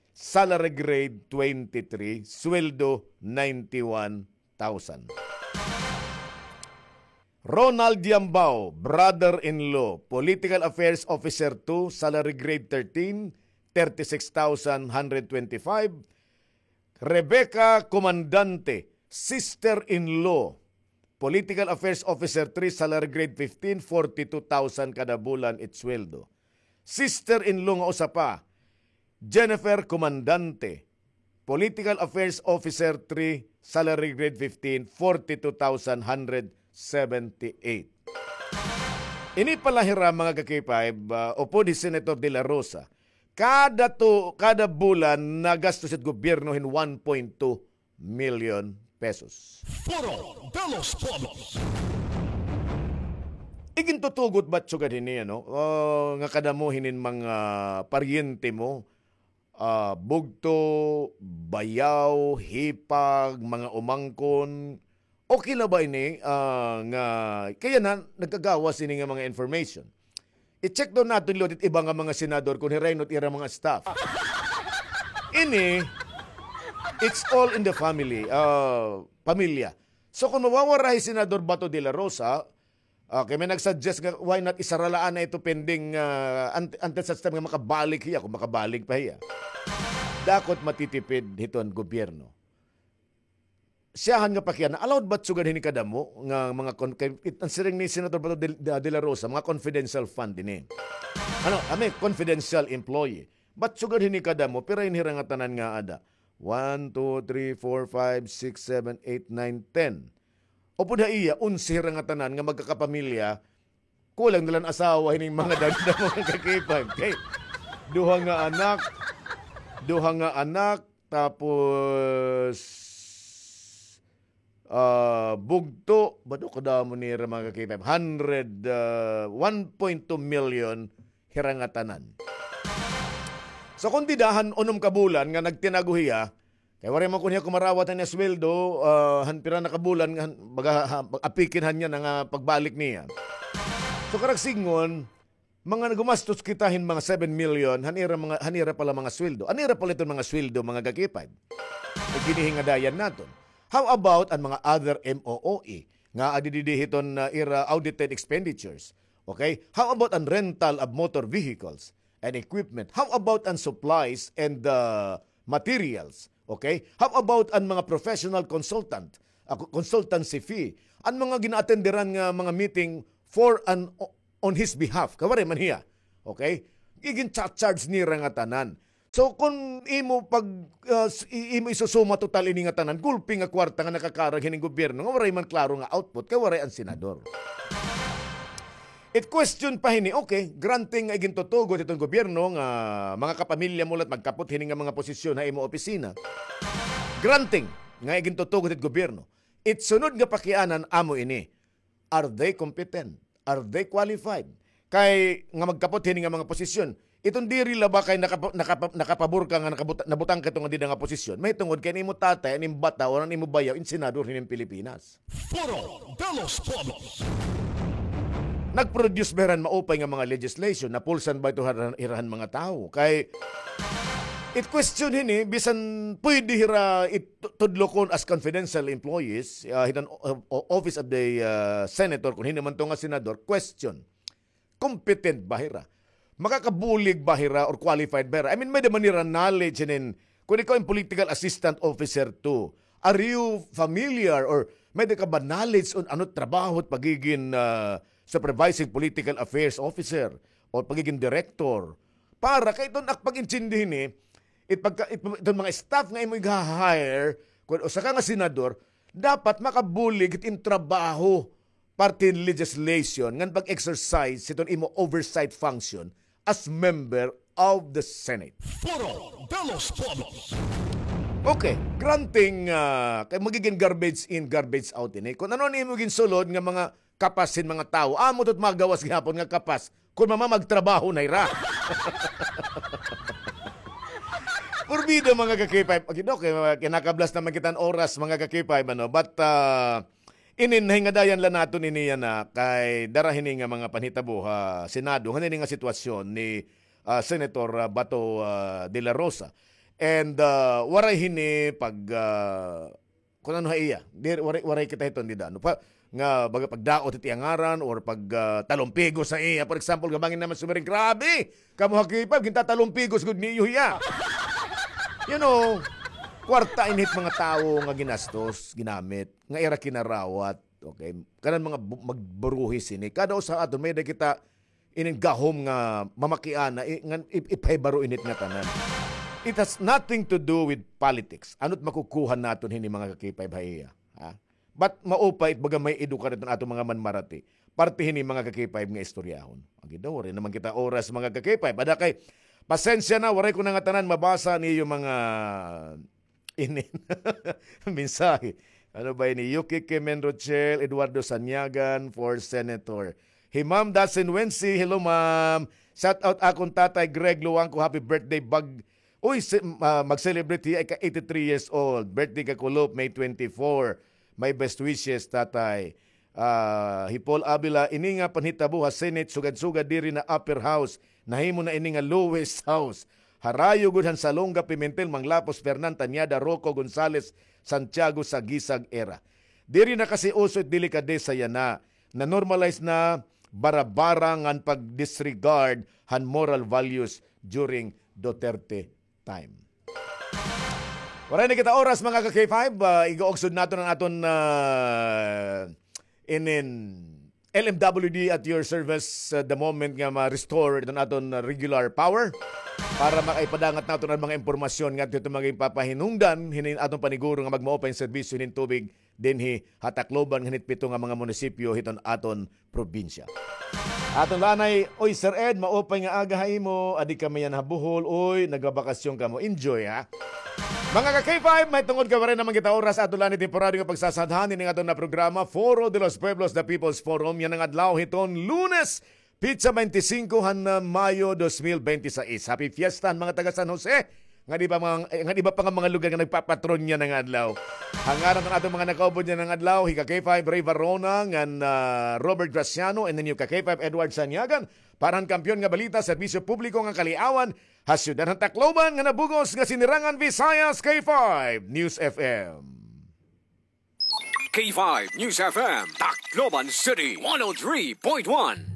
salary grade twenty-three, sweldo ninety-one thousand. Ronald Yambao, brother-in-law, Political Affairs Officer two, salary grade thirteen, thirty-six thousand hundred twenty-five. Rebecca Comandante, sister-in-law, Political Affairs Officer three, salary grade fifteen, forty-two thousand kada bulan it sweldo. Sister-in-law nga usa pa, Jennifer Comandante, Political Affairs Officer three, salary grade fifteen, forty-two thousand hundred seventy-eight. Ini pala hira, mga ka-K five, ah, upod hi Senator De La Rosa, kada tu-, kada bulan nagastos it gobyerno hin one point two million pesos. Foro de los Pueblos. Igintutugot ba sugad hini, ano, ah, nga kadamo hinin mga paryente mo, ah, bugto, bayaw, hipag, mga umangkon. Okay la ba ini, ah, nga, kay yana, nagkagawas ini nga mga information. I-check daw naton liwat it iba nga mga senador kon hira ino it ira mga staff. Ini, it's all in the family, ah, pamilya. So, kon mawawara hi Senador Bato de la Rosa, ah, kay may nag-suggest nga, why not isara la anay ito pending, ah, unt-, until such time nga makabalik hiya, kon makabalik pa hiya. Dakot matitipid hiton gobyerno. Siyahan nga pakiana, allowed ba sugad hini kadamo nga mga con-, kay, it, an siring ni Senator Bato de, de, de la Rosa, mga confidential fund ini. Ano, I mean, confidential employee. But sugad hini kadamo, pira ini hira nga tanan nga ada? One, two, three, four, five, six, seven, eight, nine, ten. Upod ha iya, onse hira nga tanan nga magkakapamilya, kulang na la an asawa hining mga dagda, mga ka-K five. Kay, duha nga anak, duha nga anak, tapos, ah, bugto, bado kadamo nira mga ka-K five, hundred, ah, one point two million hira nga tanan. So, kon dida han unom ka bulan nga nagtinago hiya, kay waray man kon hiya kumarawat han iya sweldo, ah, han pira na ka bulan nga, han, baga, ha, apikin han niya na nga pagbalik niya. So, karag sidngon, mga gumastos kita hin mga seven million, han ira mga, han ira pala mga sweldo. An ira pala iton mga sweldo, mga ka-K five. Iginhingadayan naton. How about an mga other M O O E nga adi didi hiton, ah, ira audited expenditures? Okay? How about an rental of motor vehicles and equipment? How about an supplies and, ah, materials? Okay? How about an mga professional consultant, ah, co-, consultancy fee? An mga gina-attenderan nga mga meeting for an o-, on his behalf. Kay waray man hiya. Okay? Igin-charge nira nga tanan. So, kon imo pag, ah, s-, i-, imo isusuma total ini nga tanan, gulpi nga kwarta nga nakakarag hining gobyerno, nga waray man klaro nga output, kay waray an senador. It question pa hini, okay, granting nga igintutugot hiton gobyerno nga mga kapamilya mo la it magkapot hini nga mga posisyon ha imo opisina. Granting nga igintutugot hit gobyerno. It sunod nga pakianan amo ini. Are they competent? Are they qualified? Kay nga magkapot hini nga mga posisyon. Iton diri la ba kay nakapa-, nakapa-, nakapabor ka nga nakabuta-, nabutang ka ito nga dida nga posisyon. Mahitungod kay an imo tatay, an imo bata, o an imo bayaw, in senador hinin Pilipinas. Foro de los Pueblos. Nag-produce ba hira hin maupay nga mga legislation? Napulsan ba ito hira-, hira han mga tawo? Kay it question hini, bisan pwede hira it-, tudlokon as confidential employees, ah, hiton o-, o-, office of the, ah, senator, kon hin-o man ito nga senador, question. Competent ba hira? Makakabulig ba hira or qualified ba hira? I mean, may-ada man hira knowledge hinin, kon ikaw in political assistant officer two, are you familiar or may-ada ka ba knowledge on ano trabaho it pagigin, ah, supervising political affairs officer o pagigin director? Para kay iton ak pag-intindi hini, it pagka-, it, iton mga staff nga imo iga-hire, kon usa ka nga senador, dapat makabulig it in trabaho parte hin legislation ngan pag-exercise hiton imo oversight function as member of the Senate. Foro de los Pueblos. Okay, granting, ah, kay magigin garbage in, garbage out ini. Kon ano an imo ginsulod nga mga kapas hin mga tawo, amo ito it magawas gihapon nga kapas kon mamamagtrabaho na hira. Porbida, mga ka-K five. Okay, okay, kinakablas naman kita hin oras, mga ka-K five, ano? But, ah, inin, nahingadayan la naton ini yana kay dara hini nga mga panhitabo ha Senado, ngan ini nga sitwasyon ni, ah, Senator, ah, Bato, ah, de la Rosa. And, ah, waray hini pag, ah, kon ano ha iya. Di, waray, waray kita hiton dida. Ano pa? Nga baga pagdaot it iya ngaran or pag, ah, talumpigos ha iya. For example, nga bangin naman sumiring, "Grabe! Kamo ha K five, gintatalumpigos gud niyo hiya." You know, kwarta ini hit mga tawo nga ginastos, ginamit, nga ira kinarawat, okay? Kanan mga bu-, magburuhis ini. Kada usa ha aton, may-ada kita inin gahom nga mamakiana, i-, ngan ip-, ipahibaro init nga tanan. It has nothing to do with politics. Ano it makukuha naton hini, mga ka-K five, ha iya? Ha? But maupay it baga may edukar iton aton mga manmarati. Parte hini, mga ka-K five, nga istoryahon. Agi daw, waray naman kita oras, mga ka-K five. Ada kay, pasensya na, waray ko na ngatanan mabasa niyo mga inin mensahe. Ano ba ini? Yuki Kimen Rochelle, Eduardo Sanyagan for Senator. Hi Ma'am Dasin Wensi, hello, ma'am. Shout out akon Tatay Greg Luangco, happy birthday. Bag-, uy, si-, ah, mag-celebrate hiya, ika eighty-three years old. Birthday ka kulop, May twenty-four. My best wishes, Tatay. Ah, hi Paul Avila, ini nga panhitabo ha Senate, sugad-sugad diri na upper house, nahimo na ini nga lowest house. Harayo gud han Salonga, Pimentel, Manglapos, Fernan, Tañada, Roco, Gonzales, Santiago, Sagisag, era. Diri na kasi uso it delikadesa yana. Na-normalize na bara-bara ngan pag-disregard han moral values during Duterte time. Waray na kita oras, mga ka-K five. Ah, igaugsod naton an aton, ah, inin L M W D at your service, ah, the moment nga ma-restore iton aton, ah, regular power para makaipadangat naton an mga impormasyon ngadto hiton mga ipapahinungdan hinin aton paniguro nga magmaupay nga serbisyo hinin tubig dinhi ha Tacloban ngan hit pito nga mga munisipyo hiton aton probinsya. Aton la anay, oy, Sir Ed, maupay nga aga ha imo. Adi kami yana ha Bohol, oy, nagbabakasyon kamo. Enjoy, ha? Mga ka-K five, may tungod ka pa rin naman kita oras ato la ni temporaryo nga pagsasadhan ini nga aton na programa, Foro de los Pueblos, The People's Forum, yana nga adlaw hiton Lunes, pitsa twenty-cinco han, ah, Mayo dos mil bente seis. Happy Fiesta han mga taga San Jose, nga di ba mga, eh, nga di ba pa nga mga lugar nga nagpapatron yana nga adlaw. Hangaran han aton mga nakaupod yana nga adlaw, hi ka-K five Ray Varona, ngan, ah, Robert Graciano, and then yung ka-K five Edward Sanyagan, para han kampiyon nga balita, serbisyo publiko nga kaliawan, ha siyudad han Tacloban nga nabug-os nga Sinirangan Visayas, K five News F M. K five News F M, Tacloban City, one oh three point one.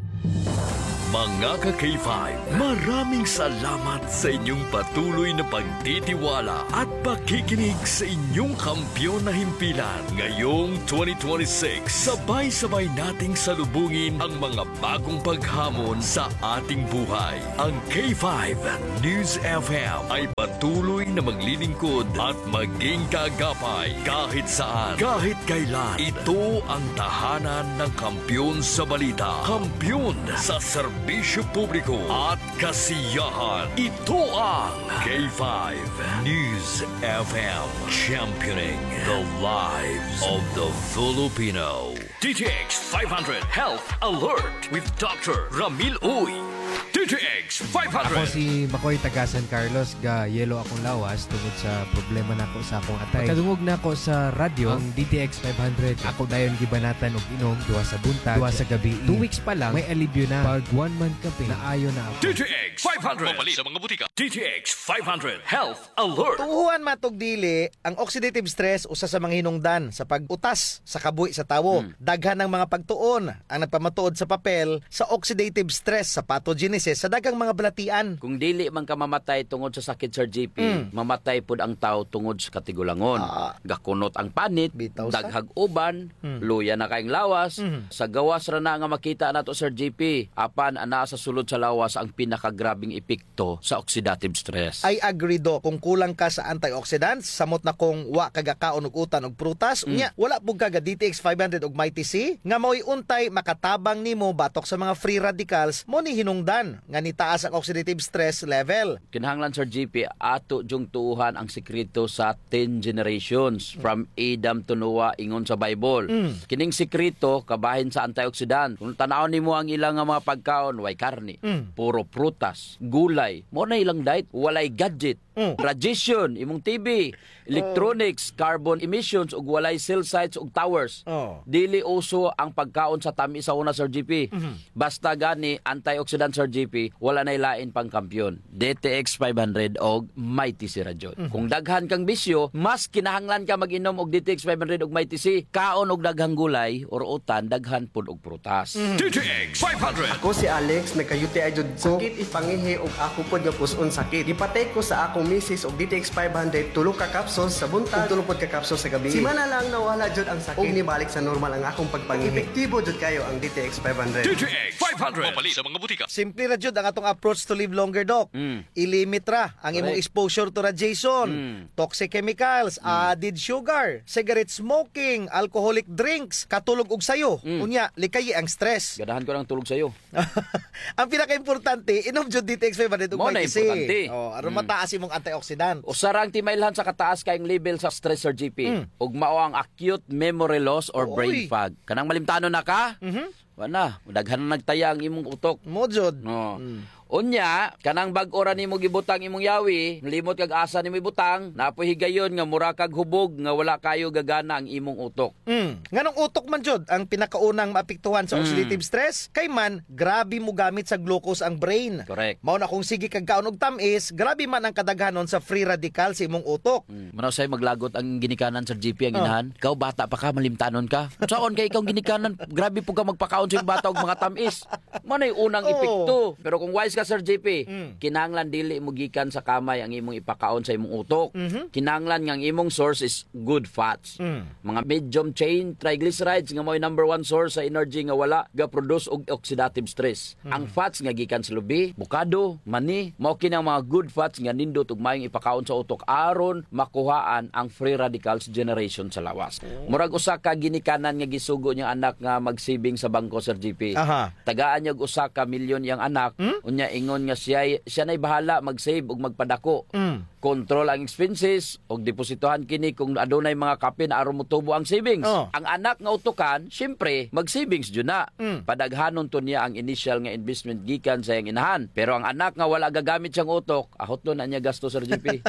Mga ka-K five, maraming salamat sa inyong patuloy na pagtitiwala at pakikinig sa inyong kampiyon na himpilan. Ngayong twenty twenty-six, sabay-sabay nating salubungin ang mga bagong paghamon sa ating buhay. Ang K five News F M ay patuloy na maglilingkod at maging kaagapay kahit saan, kahit kailan. Ito ang tahanan ng kampiyon sa balita, kampiyon sa serbisyo publiko at kasiyahan. Ito ang K five News F M, championing the lives of the Filipino. D T X five hundred Health Alert with Doctor Ramil Uy. D T X five hundred. Ako si Makoy, taga San Carlos, ga-yellow akong lawas tungod sa problema nako sa akong atay. Pagkadungog nako sa radyo, ang D T X five hundred, ako dayon gibanatan og inom duha sa buntag, duha sa gabii. Two weeks pa lang, may alibyo na. Pag one month ka, naayo na ako. D T X five hundred. Mapalit sa mga butika. D T X five hundred Health Alert. Tuohan man tog dili, ang oxidative stress usa sa mga hinungdan sa pag-utas sa kabuhi sa tawo. Hmm. Daghan ang mga pagtuon ang nagpamatuod sa papel sa oxidative stress sa pathogenesis sa daghang mga balatian. Kung dili man ka mamatay tungod sa sakit, Sir G P, hmm, mamatay pud ang tawo tungod sa katigulangon. Ah. Gakunot ang panit, bitaw sa daghag uban, hmm, luya na kaayong lawas. Hmm. Sa gawas ra na nga makita nato, Sir G P, apan anaa sa sulod sa lawas ang pinakagrabeng epekto to sa oxidative stress. I agree, Doc. Kung kulang ka sa antioxidants, samot na kung wa ka gakaon og utan og prutas, mm, unya, wala pud ka ga D T X five hundred og Mighty C, nga mao'y untay makatabang nimo batok sa mga free radicals, mao ni hinungdan nga nitaas ang oxidative stress level. Kinahanglan, Sir G P, ato jung tuohan ang sekreto sa ten generations, mm, from Adam to Noah, ingon sa Bible. Mm. Kining sekreto, kabahin sa antioxidant. Kung tan-awon nimo ang ila nga mga pagkaon, way karne, mm, puro prutas, gulay. Mao na ilang diet, walay gadget. Mm. Radiation, imong T V, electronics, oh, carbon emissions, ug walay cell sites ug towers. Oh. Dili uso ang pagkaon sa tamis sa una, Sir G P. Mhm. Basta gani, antioxidant, Sir G P, wala na'y lain pang kampiyon. D T X five hundred og Mighty C Rajud. Mhm. Kung daghan kang bisyo, mas kinahanglan ka mag-inom og D T X five hundred og Mighty C. Kaon og daghang gulay or utan, daghan pud og prutas. Mhm. D T X five hundred. Ako si Alex, nagka-U T I jud ko. Sakit it pangihi ug ako pod nga pus-on sakit. Gipatake ko sa akong misis og D T X five hundred, tulo ka capsules sa buntag, ug tulo pod ka capsules sa gabii. Semana lang nawala jud ang sakit. Ug nibalik sa normal ang akong pagpangihi. Epektibo jud kayo ang D T X five hundred. D T X five hundred. Mapalit sa mga butika. Simple ra jud ang atong approach to live longer, Doc. Mm. I-limit ra ang imong, correct, exposure to radiation, mm, toxic chemicals, mm, added sugar, cigarette smoking, alcoholic drinks, katulog og sayo. Mm. Unya, likayi ang stress. Ganahan ko ng tulog sayo. Ang pinakaimportante, inom jud D T X five hundred ug Mighty C. Mao na importante. Oh, aron, mm, mataas imong antioxidant. Usa ra ang timailhan sa kataas kaayong level sa stress, Sir G P. Mm. Ug mao ang acute memory loss or brain fog. Oy. Kanang malimtanon na ka? Mhm. Wa na, daghan na nagtaya ang imong utok. Mao jud. No. Mm. Unya, kanang bag-o ra nimo gibutang imong yawi, limot kag asa nimo ibutang, naa poy higayon nga mura kag hubog nga wala kayo gagana ang imong utok. Mm. Nganong utok man jud ang pinakaunang maapektuhan sa, mm, oxidative stress? Kay man, grabe mogamit sa glucose ang brain. Correct. Mao na kung sige kag kaon og tam-is, grabe man ang kadaghanon sa free radical sa imong utok. Mm. Mao na usay maglagot ang ginikanan, Sir G P, ang, oh, inahan. Ikaw, bata pa ka, malimtanon ka. Saon kay ikaw ginikanan, grabe po ka magpakaon sa imong bata og mga tam-is. Mao na'y unang, oh, epekto. Pero kung wise ka, Sir G P, mm, kinahanglan dili mo gikan sa kamay ang imong ipakaon sa imong utok. Mhm. Kinahanglan nga ang imong source is good fats. Mm. Mga medium chain triglycerides nga mao'y number one source sa energy nga wala ga-produce og oxidative stress. Mm. Ang fats nga gikan sa lubi, bukado, mani, mao kini ang mga good fats nga nindot ug maayong ipakaon sa utok aron makuhaan ang free radicals generation sa lawas. Oh. Murag usa ka ginikanan nga gisugo niyang anak nga magsibing sa bangko, Sir G P. Aha. Tagaan niya og usa ka milyon iyang anak, hmm? Unya ingon nga siya, siya nay bahala mag-save ug magpadako. Mm. Control ang expenses, ug depositohan kini kung adunay mga kapin aron motubo ang savings. Oh. Ang anak nga utukan, siyempre, mag-savings jud na. Mm. Padaghanon to niya ang initial nga investment gikan sa iyang inahan. Pero ang anak nga wala gagamit siyang utok, ahot na niya gasto, Sir G P.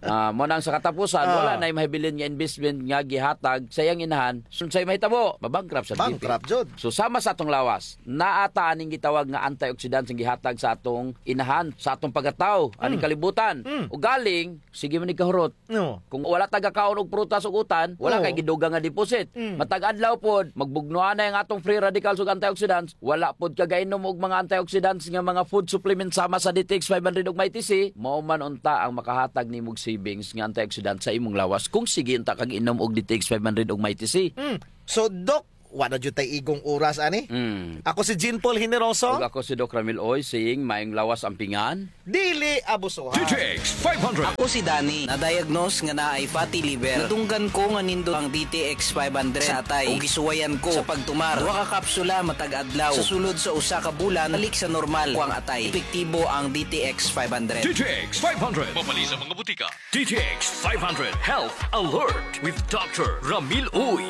Ah, mao nang sa katapusan, ah, wala na'y mahibilin nga investment nga gihatag sa iyang inahan. Unsay mahitabo? Mabankrupt, Sir G P. Bankrupt jud. So, sama sa atong lawas, naa ta aning gitawag nga antioxidants nga gihatag sa atong inahan, sa atong pagkatawo, aning, mm, kalibutan. Mm. Ugaling, sige man igkahurot. No. Kung wala ta gakaon og prutas ug utan, wala, oo, kay gidugang nga deposit. Mm. Matag adlaw pod, magbugnoan na ang atong free radicals ug antioxidants, wala pod ka gainom og mga antioxidants nga mga food supplements sama sa D T X five hundred ug Mighty C, mao man unta ang makahatag nimo og savings nga antioxidant sa imong lawas kung sige unta kag inom og D T X five hundred ug Mighty C. Mm. So, Doc, wa na jud tay igong oras ani. Mm. Ako si Jean Paul Generoso. Ug ako si Doc Ramil Oy, saying, maayong lawas ampingan. Dili abusuhan. D T X five hundred. Ako si Danny. Na-diagnose nga naay fatty liver. Nadunggan ko nga nindot ang D T X five hundred sa atay. Ug gisuwayan ko sa pagtumar. Duha ka kapsula matag adlaw. Sa sulod sa usa ka bulan, balik sa normal ko ang atay. Epektibo ang D T X five hundred. D T X five hundred. Mapalit sa mga butika. D T X five hundred Health Alert with Doctor Ramil Uy.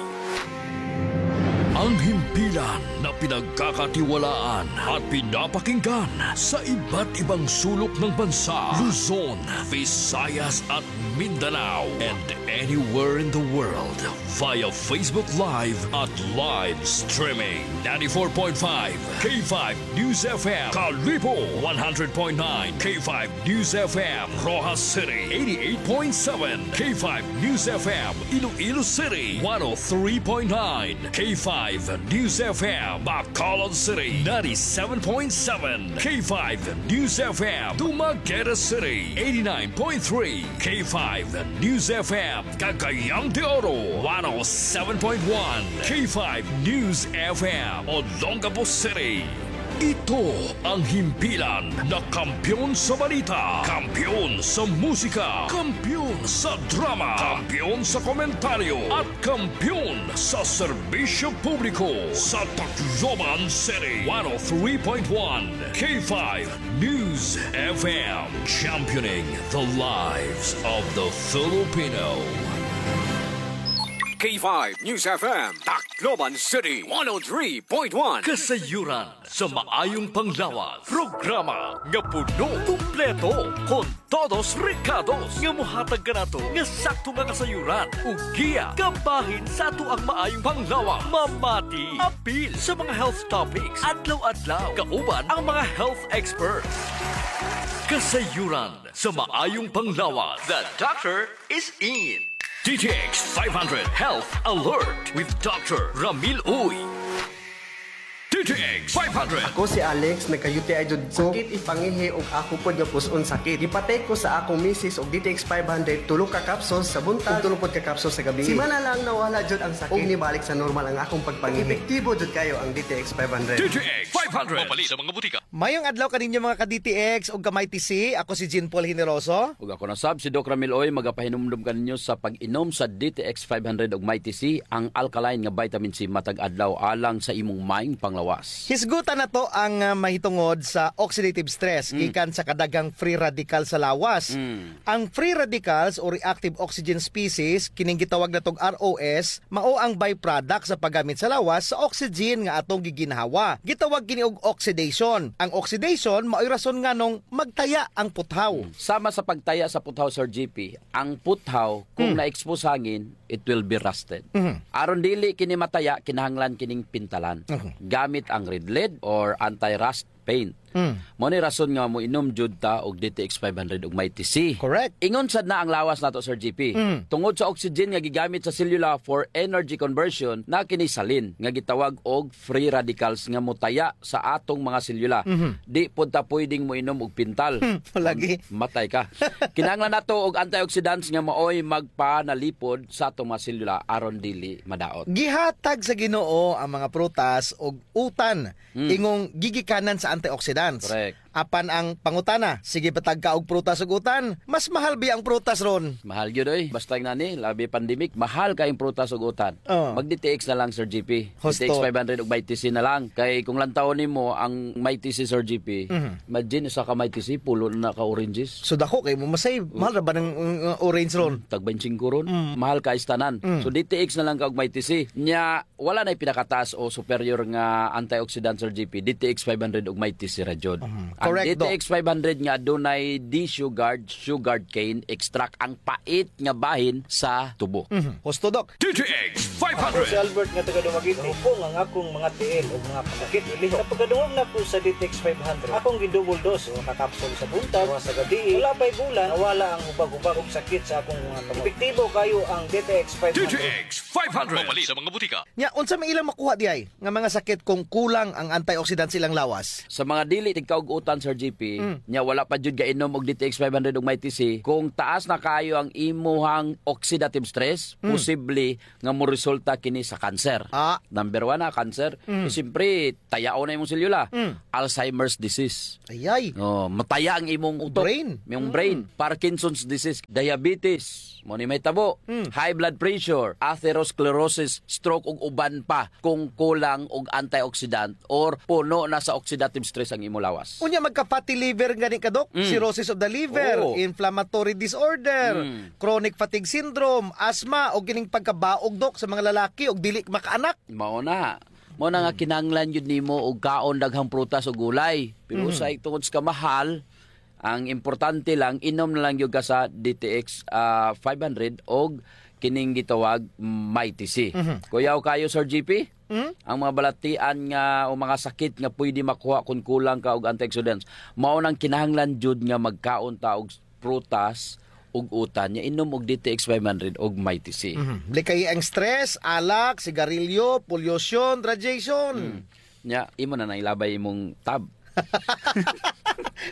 Ang himpilan na pinagkakatiwalaan at pinapakinggan sa iba't ibang sulok ng bansa, Luzon, Visayas at Mindanao, and anywhere in the world via Facebook Live at live streaming. Ninety-four point five K five News F M, Kalibo, one hundred point nine K five News F M, Roxas City, eighty-eight point seven K five News F M, Iloilo City, one oh three point nine K five News F M, Bacolod City, ninety-seven point seven K five News F M, Dumaguete City, eighty-nine point three K five News F M, Cagayan de Oro, one oh seven point one K five News F M, Olongapo City. Ito ang himpilan na kampiyon sa balita, kampiyon sa musika, kampiyon sa drama, kampiyon sa komentaryo, at kampiyon sa serbisyo publiko sa Tacloban City. One oh three point one K five News F M, championing the lives of the Filipino. K five News F M, Tacloban City, one oh three point one. Kasayuran sa maayong panglawas. Programa nga puno, kumpleto, kon todos rekados nga mohatag kanato nga sakto nga kasayuran ug giya kabahin sa atoang maayong panglawas. Mamati, apil sa mga health topics adlaw-adlaw, kauban ang mga health experts. Kasayuran sa maayong panglawas. The doctor is in. D T X five hundred Health Alert with Doctor Ramil Uy. D T X five hundred. Ako si Alex, nagka-U T I jud ko. Sakit it pangihi ug ako pod nga pus-on sakit. Gipatake ko sa akong misis og D T X five hundred, tulo ka capsules sa buntag ug tulo pod ka capsules sa gabii. Simana lang nawala jud ang sakit ug nibalik sa normal ang akong pagpangihi. Epektibo jud kayo ang D T X five hundred. D T X five hundred. Mapalit sa mga butika. Mayong adlaw kaninyo, mga ka-D T X ug ka-Mighty C. Ako si Jean Paul Generoso. Ug ako na sab si Doc Ramil Oy, magapahinumdom kaninyo sa pag-inom sa D T X five hundred ug Mighty C, ang alkaline nga vitamin C matag adlaw alang sa imong maayong panglawas. Hisgutan nato ang, ah, mahitungod sa oxidative stress, mm, gikan sa kadaghang free radical sa lawas. Mm. Ang free radicals o reactive oxygen species, kining gitawag natog R O S, mao ang byproduct sa paggamit sa lawas sa oxygen nga atong giginhawa. Gitawag kini og oxidation. Ang oxidation mao'y rason nganong magtaya ang puthaw. Hmm. Sama sa pagtaya sa puthaw, Sir G P, ang puthaw, kung, hmm, na-expose hangin, it will be rusted. Mhm. Aron dili kini mataya, kinahanglan kining pintalan. Mhm. Gamit ang Red Lead or anti-rust paint. Mm. Mao ni rason nga moinom jud ta og D T X five hundred ug Mighty C. Correct. Ingon sad na ang lawas nato, Sir G P. Mm. Tungod sa oxygen nga gigamit sa selula for energy conversion, na kini salin nga gitawag og free radicals nga motaya sa atong mga selula. Mhm. Di pod ta pwedeng moinom og pintal. Hmm, lagi. Matay ka. Kinahanglan nato og antioxidants nga maoy magpanalipod sa atong mga selula aron dili madaot. Gihatag sa Ginoo ang mga prutas og utan, mm, ingong gigikanan sa antioxidants. Correct. Apan ang pangutana, sige pa tagkaon og prutas ug utan, mas mahal biya ang prutas ron? Mahal gyud, oy. Basta ngani, labi pandemic, mahal kaayo ang prutas ug utan. Oh. Mag-D T X na lang, Sir G P. Husto. D T X five hundred ug Mighty C na lang. Kay kung lantawon nimo ang Mighty C, Sir G P, mhm, imagine, usa ka Mighty C, pulo na ka oranges. So, dako kaayo mo ma-save. Mahal ra ba an, uh, orange ron? Tag baynte singko ron. Mm. Mahal kaayo sa tanan. Mm. So, D T X na lang ka og Mighty C. Nya, wala nay pinakataas o superior nga antioxidant, Sir G P, D T X five hundred ug Mighty C ra jud. Mhm. Correct, Doc. Ang D T X five hundred nga adunay D-Sugard, sugarcane extract, ang pait nga bahin sa tubo. Mhm. Husto, Doc. D T X five hundred. Ako si Albert nga taga Dumaguete. Hupong ang akong mga tiil ug mga kasakit ilihok. Sa pagkadungog nako sa D T X five hundred, akong gi-double dose, usa ka kapsul sa buntag, usa sa gabii. Wala pa'y bulan, nawala ang hubag-hubag ug sakit sa akong mga kamot. Epektibo kaayo ang D T X five hundred. D T X five hundred. Mapalit sa mga butika. Nya, unsa may ilang makuha diay nga mga sakit kung kulang ang antioxidant sa ilang lawas? Sa mga dili tigkaon og utan, Sir G P, mm, nya wala pa jud gainom og D T X five hundred ug Mighty C, kung taas na kaayo ang imuhang oxidative stress, mm, posible nga moresulta kini sa cancer. Ah. Number one na cancer. Mm. Eh, siyempre, tayaon na imong selula. Mm. Alzheimer's disease. Ayay. Oh, mataya ang imong utok. Brain. Imong brain. Mm. Parkinson's disease, diabetes, mao ni mahitabo. Mm. High blood pressure, atherosclerosis, stroke, ug uban pa kung kulang og antioxidant or puno na sa oxidative stress ang imo lawas. Unya, magka-fatty liver gani ka, Doc? Mm. Cirrhosis of the liver, oo, inflammatory disorder, mm, chronic fatigue syndrome, asthma, o kining pagkabaog, Doc, sa mga lalaki og dili makaanak. Mao na. Mao na nga, mm, kinahanglan jud nimo og kaon daghang prutas o gulay. Pero, mm, usahay tungod sa kamahal, ang importante lang, inom na lang gyud ka sa D T X, ah, five hundred og kining gitawag Mighty C. Mhm. Kuyaw kaayo, Sir G P, mhm, ang mga balatian nga o mga sakit nga pwede makuha kung kulang ka og antioxidants. Mao nang kinahanglan jud nga magkaon ta og prutas ug utan, nya inom og D T X five hundred og Mighty C. Mhm. Likayi ang stress, alak, sigarilyo, pollution, radiation. Mm. Nya, imo na nang ilabay imong tab.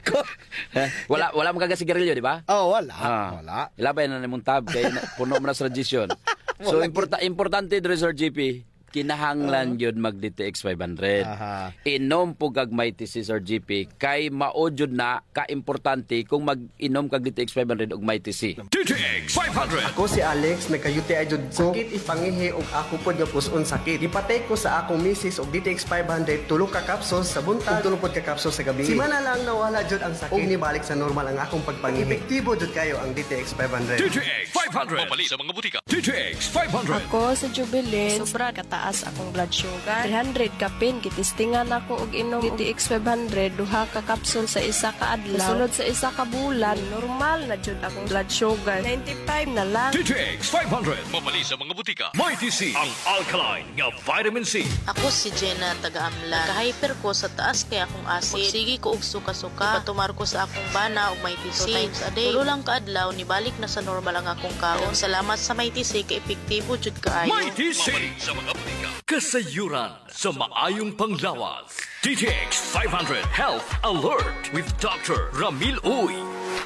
Ko- Eh, wala, wala man ka gasigarilyo, di ba? Oh, wala. Ah. Wala. Ilabay na nimong tab kay na, puno man na sa radiation. So, wala importa-, importante diri, Sir G P, kinahanglan, ah, gyud mag D T X five hundred. Aha. Inom pod kag Mighty C, Sir G P, kay mao jud na ka importante kung mag-inom kag D T X five hundred ug Mighty C. D T X five hundred. Ako si Alex, nagka-U T I jud ko. Sakit it pangihi ug ako pod nga pus-on sakit. Gipa-take ko sa akong misis og D T X five hundred, tulo ka capsules sa buntag ug tulo pod ka capsules sa gabii. Simana lang nawala jud ang sakit ug nibalik sa normal ang akong pagpangihi. Epektibo jud kaayo ang D T X five hundred. D T X five hundred. Mapalit sa mga butika. D T X five hundred. Ako si Jubilin. Sobra kataas akong blood sugar. Three hundred kapin, gitistingan ako og inom D T X five hundred, duha ka capsule sa isa ka adlaw. Sulod sa isa ka bulan, normal na jud akong blood sugar. Ninety-five na lang. D T X five hundred. Mapalit sa mga butika. Mighty C, ang alkaline nga vitamin C. Ako si Jenna, taga Amlan. Nagka-hyper ko sa taas kay akong acid. Magsigi ko og suka-suka. Ipatumar ko sa akong bana og Mighty C two times a day. Tulo lang ka adlaw, nibalik na sa normal ang akong kaon. Salamat sa Mighty C, kay epektibo jud kaayo. Mighty C. Mapalit sa mga butika. Kasayuran sa maayong panglawas. D T X five hundred Health Alert with Doctor Ramil Uy.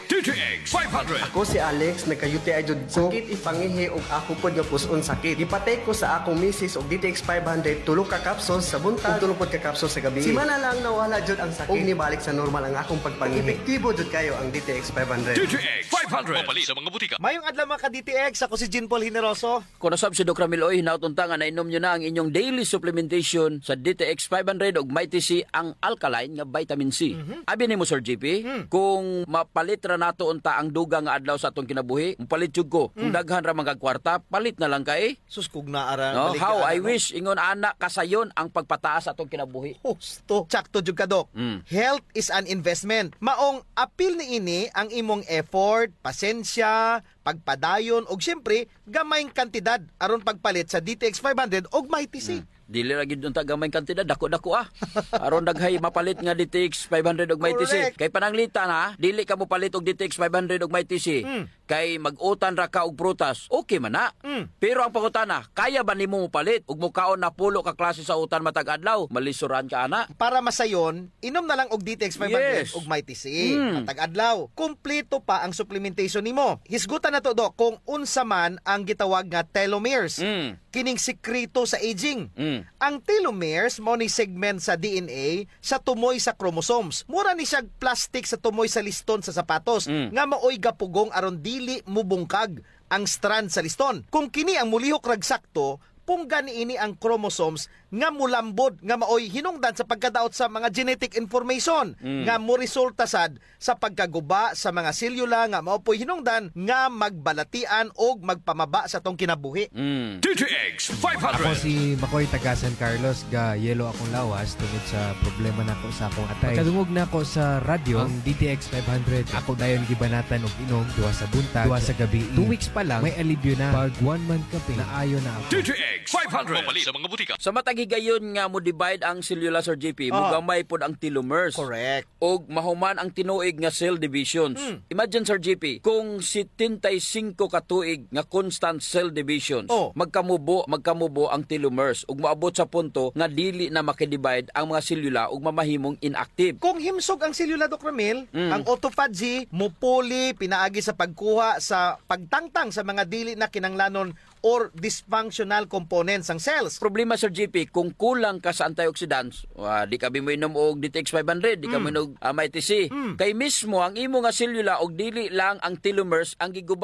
D T X five hundred. Ako si Alex, nagka-U T I jud ko. Sakit it pangihi ug ako pod nga pus-on sakit. Gipa-take ko sa akong misis og D T X five hundred, tulo ka capsules sa buntag ug tulo pod ka capsules sa gabii. Simana lang nawala jud ang sakit ug nibalik sa normal ang akong pagpangihi. Epektibo jud kaayo ang D T X five hundred. D T X five hundred. Mapalit sa mga butika. Maayong adlaw, mga ka-D T X. Ako si Jean Paul Generoso. Kon usab si Doc Ramil Uy, hinaot unta nga nainom niyo na ang inyong daily supplementation sa D T X five hundred ug Mighty C, ang alkaline nga vitamin C. Mhm. Abi nimo, Sir G P, hmm, kung mapalit ra nato unta ang dugang nga adlaw sa atong kinabuhi, mopalit jud ko. Kung, hmm, daghan ra man kag kwarta, palit na lang kay. Sus, kung naa ra, no? Baligya, how I, ano, wish, ingon ana, kasayon ang pagpataas sa atong kinabuhi. Husto. Sakto jud ka, Doc. Mm. Health is an investment. Maong apil niini ang imong effort, pasensya, pagpadayon, ug siyempre, gamayng kantidad aron pagpalit sa D T X five hundred ug Mighty C. Hmm. Dili ra gyud unta gamayng kantidad, dako-dako, ah. Aron daghay mapalit nga D T X five hundred ug Mighty C. Correct. Kay pananglitan, ha, dili ka mopalit og D T X five hundred ug Mighty C. Hmm. Kay mag-utan ra ka og prutas, okay man na. Hmm. Pero ang pangutana, kaya ba nimo mopalit ug mokaon na pulo ka klase sa utan matag adlaw? Malisoran ka ana. Para masayon, inom na lang og D T X five hundred, yes, ug Mighty C. Mm. Matag adlaw, kumpleto pa ang supplementation nimo. Hisgutan nato, Doc, kung unsa man ang gitawag nga telomeres. Mm. kining sikreto sa aging. Mm. Ang telomeres mao ni segment sa D N A sa tumoy sa chromosomes. Mura ni siya plastic sa tumoy sa liston sa sapatos, mm, nga maoy gapugong aron dili mubungkag ang strand sa liston. Kung kini ang mulihok rag sakto, punggan niini ang chromosomes nga mulambod, nga maoy hinungdan sa pagkadaot sa mga genetic information, mm, nga moresulta sad sa pagkaguba sa mga selyula nga mao po'y hinungdan nga magbalatian og magpamaba sa atong kinabuhi. Mm. D T X five hundred. Ako si Makoy, taga San Carlos, ga yellow akong lawas tungod sa problema nako sa akong atay. Pagkadungog nako sa radyo, ang D T X five hundred, ako dayon gibanatan og inom, duha sa buntag, duha sa gabi. Two weeks pa lang, may alibyo na. Pag one month ka, Ping, naayo na ako. D T X five hundred. Mapalit sa mga butika. Sa matag higayon nga mo-divide ang selyula, Sir J P, mogamay pod ang telomeres. Correct. Og mahuman ang tinuig nga cell divisions. Hmm. Imagine, Sir J P, kung setenta y cinco ka tuig nga constant cell divisions, oh, magkamubo, magkamubo ang telomeres ug moabot sa punto nga dili na makidivide ang mga selyula ug mamahimong inactive. Kung himsog ang selyula, Doc Ramil, mm, ang autophagy, mupuli pinaagi sa pagkuha sa pagtangtang sa mga dili na kinanglanon or dysfunctional components sang cells. Problema, Sir J P, kung kulang ka sa antioxidants, ah, di ka bi moinom og D T X five hundred, di ka, mm, moinom og, ah, Mighty C. Mm. Kay mismo ang imo nga selula og dili lang ang telomeres ang giguba